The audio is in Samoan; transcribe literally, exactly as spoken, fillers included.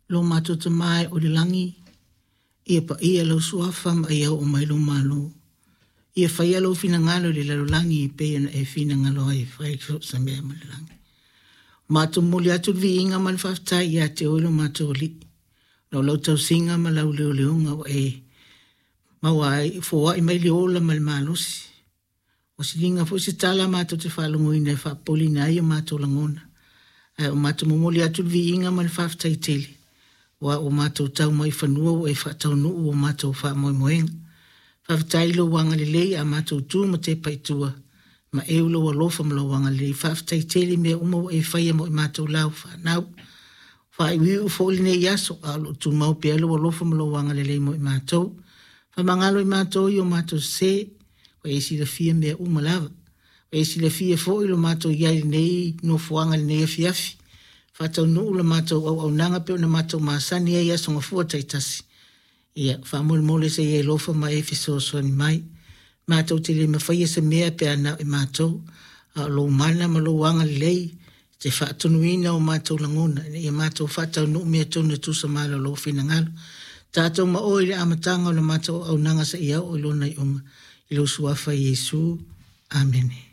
Lo matou Tama e o i le lagi, ia paia lau suafa ma ia oo mai lou malo. Ia faia lou finagalo i le lalolagi e pei ona e finagalo ai e fai i so o se mea ma le lagi. Matou momoli atu le viiga ma le faafetai ia te oe lo matou Alii, ona o lau tausiga ma lau leoleoga ua e maua ai, foai mai le ola ma le malosi. Ua siliga foi se tala matou te faalogoina e faapopoleina ai o matou lagona. Ae o matou momoli atu le viiga ma le faafetai tele, aua ua matou tau mai i fanua ua e faataunuu o matou faamoemoega. Faafetai i lou agalelei a matou tu ma tepa i tua, ma eu lou alofa ma lou agalelei. Faafetai tele i mea uma ua e faia mo i matou la ua fanau. Faaiuiu foi lenei aso, a o lo o tumau pea lou alofa ma lou agalelei mo i matou. Faamagalo i matou i o matou sese, ua e silafia mea uma lava. Ua e silafia foi lo matou i ai i lenei nofoaga i lenei afiafi. Faataunuu la matou auaunaga pei ona matou masani ai i aso Gafua taitasi. Ia, faamolemole se i e alofa ma e fesoasoani mai. Matou te le mafaia se mea pe a na o i matou, a o lou mana ma lou agalelei te faatonuina o matou lagona, ina ia matou faataunuu mea tonu e tusa ma ala o lou finagalo. Tatou ma oe i le amataga o le matou auaunaga seia oo i lona iuga, i lou suafa Iesu. Amene.